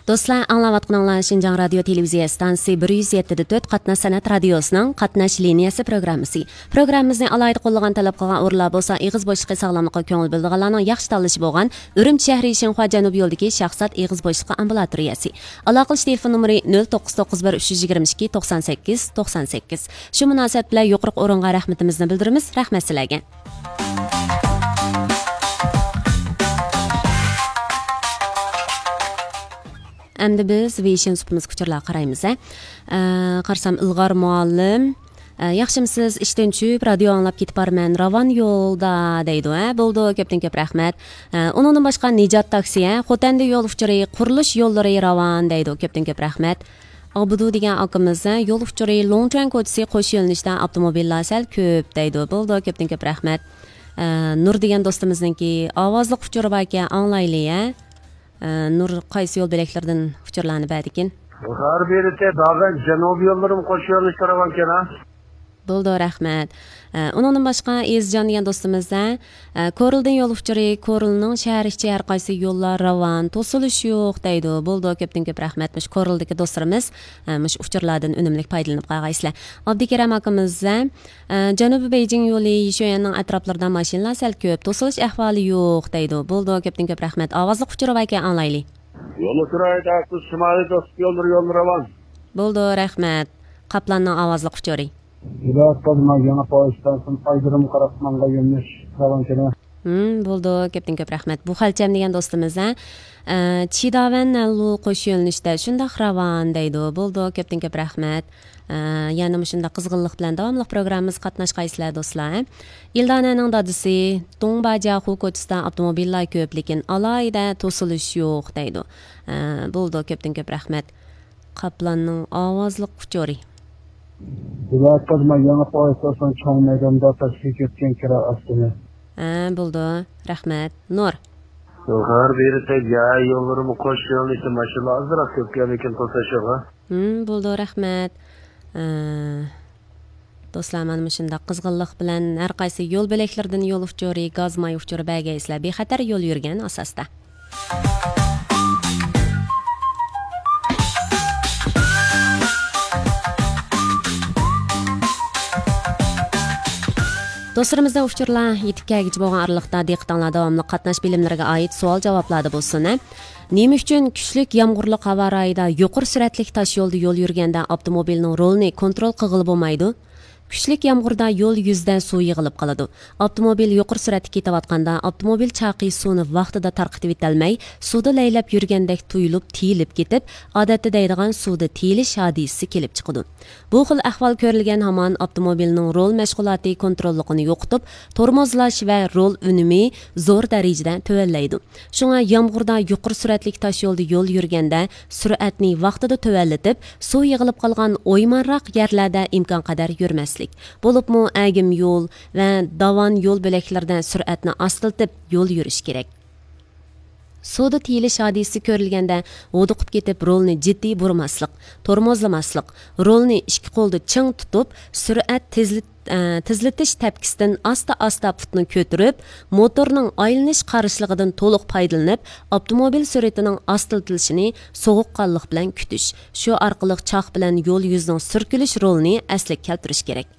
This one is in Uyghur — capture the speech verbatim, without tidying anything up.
دوستلار، ئاڭلاۋاتقىنىڭلار شىنجاڭ رادىيو تېلېۋىزىيە ئىستانسىسى بىر يۈز يەتتە دە تۆت قاتناش سەنئەت رادىيوسىنىڭ قاتناش لىنىيەسى پروگراممىسى. پروگراممىمىزنى ئالاھىدە قوللىغان، تەلەپ قىلغان ئورۇنلار بولسا ئېغىز بوشلۇقى ساغلاملىقىغا كۆڭۈل بۆلىدىغانلارنىڭ ياخشى تاللىشى بولغان ئۈرۈمچى شەھىرى شىنخۇا جەنۇبىي يولىدىكى شاھزات ئېغىز بوشلۇقى ئامبۇلاتورىيەسى. ئالاقىلىشىش تېلېفون نومۇرى نۆل توققۇز توققۇز بىر ئۈچ يۈز يىگىرمە ئىككى توقسان سەككىز توقسان سەككىز. شۇ مۇناسىۋەت بىلەن يۇقىرىقى ئورۇنغا رەھمىتىمىزنى بىلدۈرىمىز. رەھمەت سىلەرگە. ئەمدى بىز ۋېيشىن سۇپىمىزغا ئۇچۇرلارغا قارايمىز، ھە. ئە، قارىسام، ئىلغار مۇئەللىم، ئە، ياخشىمۇسىز؟ ئىشتىن چۈشۈپ، رادىيو ئاڭلاپ كېتىپ بارىمەن. راۋان يولدا، دەيدۇ، ھە. بولىدۇ، كۆپتىن كۆپ رەھمەت. ئە، ئۇنىڭدىن باشقا، نىجات تاكسى، ھە. خوتەندە يول ئۇچۇرى، قۇرۇلۇش يوللىرى راۋان، دەيدۇ، كۆپتىن كۆپ رەھمەت. ئابدۇ دېگەن ئاكىمىز، ھە، يول ئۇچۇرى، لوڭچۈەن كوچىسى قوش يۆنىلىشتە ئاپتوموبىللار سەل كۆپ، دەيدۇ. بولىدۇ، كۆپتىن كۆپ رەھمەت. ئە، نۇر دېگەن دوستىمىزنىڭكى ئاۋازلىق ئۇچۇرى باركەن، ئاڭلايلى، ھە. ئە، نۇر قايسى يول بۆلەكلىرىدىن ئۇچۇرلارنى بەردىكىن؟ بۇخار بېرىتى داغەن جەنۇبىي يوللىرىمۇ قوش يۆنىلىشتە راۋانكەن، ھە؟ بولىدۇ، رەھمەت. ئە، ئۇنىڭدىن باشقا ئېزىجان دېگەن دوستىمىز، ھە، ئە، كورلىدىن يول ئۇچۇرى، كورلىنىڭ شەھەر ئىچى ھەر قايسى يوللار راۋان، توسۇلۇش يوق دەيدۇ. بولىدۇ، كۆپتىن كۆپ رەھمەت. مۇشۇ كورلىدىكى دوستلىرىمىز، ئە، مۇشۇ ئۇچۇرلاردىن ئۈنۈملۈك پايدىلىنىپ قالغايسىلەر. ئابدۇكېرەم ئاكىمىز، ھە، ئە، جەنۇبىي بېيجىڭ يولى يىشۆيەننىڭ ئەتراپلىرىدا ماشىنىلار سەل كۆپ، توسۇلۇش ئەھۋالى يوق دەيدۇ. بولىدۇ، كۆپتىن كۆپ رەھمەت. ئاۋازلىق ئۇچۇرى باركەن، ئاڭلايلى. يولنى سۈرەيدە، شىمالىي دوستلۇق يوللىرى، يوللىرى راۋان. بولىدۇ، رەھمەت. قاپلاننىڭ ئاۋازلىق ئۇچۇرى. ھىدايەت قازما يېڭى پويىز ئىستانسىسىدىن ئايرىم قاراقمانغا يۆنىلىش راۋانكەن. ھىم، بولىدۇ، كۆپتىن كۆپ رەھمەت. بۇ خەلچەم دېگەن دوستىمىز، ھە، ئە، چىداۋەن نەنلۇ قوش يۆنىلىشتە شۇنداق راۋان دەيدۇ. بولىدۇ، كۆپتىن كۆپ رەھمەت. ئە، يەنە مۇشۇنداق قىزغىنلىق بىلەن داۋاملىق پروگراممىمىزغا قاتناشقايسىلەر، دوستلار. ئىلدانەنىڭ دادىسى، دۇڭباجياخۇ كوچىسىدا ئاپتوموبىللار كۆپ، لېكىن ئالاھىدە توسۇلۇش يوق دەيدۇ. ئە، بولىدۇ، كۆپتىن كۆپ رەھمەت. قاپلاننىڭ ئاۋازلىق ئۇچۇرى. ۋىلايەت قازما يېڭى پويىز ئىستانسىسىنىڭ چوڭ مەيدانىدا پەسكە كەتكەن كىرا ئاستىنى. ھە، بولىدۇ. رەھمەت. نۇر. يۇقىرى بېرىسەك، يا يوللىرىمۇ قوش يۆنىلىشتە ماشىنىلار ئازراق كۆپكەن، لېكىن توسۇلۇش يوق، ھە؟ ھىم، بولىدۇ، رەھمەت. ئە، دوستلار، مانا مۇشۇنداق قىزغىنلىق بىلەن ھەر قايسى يول بۆلەكلىرىدىن يول ئۇچۇرى، گاز ماي ئۇچۇرى بەرگەيسىلەر، بىخەتەر يول يۈرگەن ئاساستا. دوستلىرىمىزدىن ئۇچۇرلار يېتىپ كەلگۈچە بولغان ئارىلىقتا دىققىتىڭلار داۋاملىق قاتناش بىلىملىرىگە ئائىت سوئال جاۋابلاردا بولسۇن، ھە. نېمە ئۈچۈن كۈچلۈك يامغۇرلۇق ھاۋا رايىدا يۇقىرى سۈرئەتلىك تاش يولدا يول يۈرگەندە ئاپتوموبىلنىڭ رولىنى كونترول قىلغىلى بولمايدۇ؟ كۈچلۈك يامغۇردا يول يۈزىدە سۇ يىغىلىپ قالىدۇ. ئاپتوموبىل يۇقىرى سۈرئەتتە كېتىۋاتقاندا، ئاپتوموبىل چاقى سۇنى ۋاقتىدا تارقىتىۋېتەلمەي، سۇدا لەيلەپ يۈرگەندەك تۇيۇلۇپ، تىيىلىپ كېتىپ، ئادەتتە دەيدىغان سۇدا تىيىلىش ھادىسىسى كېلىپ چىقىدۇ. بۇ خىل ئەھۋال كۆرۈلگەن ھامان ئاپتوموبىلنىڭ رول مەشغۇلاتى كونتروللۇقىنى يوقىتىپ، تورمۇزلاش ۋە رول ئۈنۈمى زور دەرىجىدە تۆۋەنلەيدۇ. شۇڭا يامغۇردا يۇقىرى سۈرئەتلىك تاش يولدا يول يۈرگەندە، سۈرئەتنى ۋاقتىدا تۆۋەنلىتىپ، سۇ يىغىلىپ قالغان ئويمانراق يەرلەردە ئىمكانقەدەر يۈرمەسلىك، بولۇپمۇ ئەگىم يول ۋە داۋان يول بۆلەكلىرىدە سۈرئەتنى ئاستىلىتىپ يول يۈرۈش كېرەك. سۇدا تىيىلىش ھادىسىسى كۆرۈلگەندە، ھودۇقۇپ كېتىپ رولنى جىددىي بۇرماسلىق، تورمۇزلىماسلىق، رولنى ئىككى قولدا چىڭ تۇتۇپ، سۈرئەت تېزلىت-، ئە، تېزلىتىش تەپكىسىدىن ئاستا-ئاستا پۇتنى كۆتۈرۈپ، موتورنىڭ ئايلىنىش قارشىلىقىدىن تولۇق پايدىلىنىپ، ئاپتوموبىل سۈرئىتىنىڭ ئاستىلىتىلىشىنى سوغۇققانلىق بىلەن كۈتۈش، شۇ ئارقىلىق چاق بىلەن يول يۈزىنىڭ سۈركىلىش رولىنى ئەسلىگە كەلتۈرۈش كېرەك.